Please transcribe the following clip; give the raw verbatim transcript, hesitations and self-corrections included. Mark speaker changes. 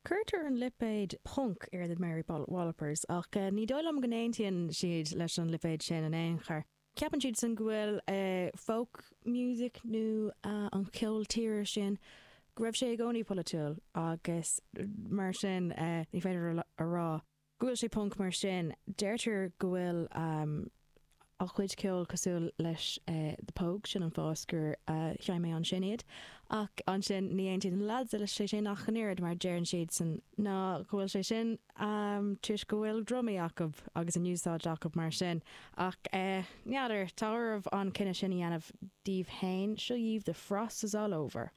Speaker 1: Cuirtear an lipéad punk ar the Mary Wallopers ach uh, ní dóigh liom go n-aontaíonn siad leis an lipéad sin in aon chor. Ceapann siad san go bhfuil uh, folk music nó uh, an ceol tíre sin go raibh sé i gcónaí polaitiúil agus mar sin uh, ní féidir a rá. Go bhfuil sé punk mar sin deirtear go bhfuil um, a chuid ceol cosúil leis uh, the Pogues sin an fáth gur uh, sheinn mé ansin iad ach ansin ní aontaíonn na lads leis sé sin ach an oiread mar deireann siad san ná go bhfuil sé sin um, toisc go bhfuil drumaí acu agus an úsáid acu mar sin ach uh, n'fheadar tá oraibh an cinneadh sin a dhéanamh daoibh féin seo dhaoibh the frost is all over.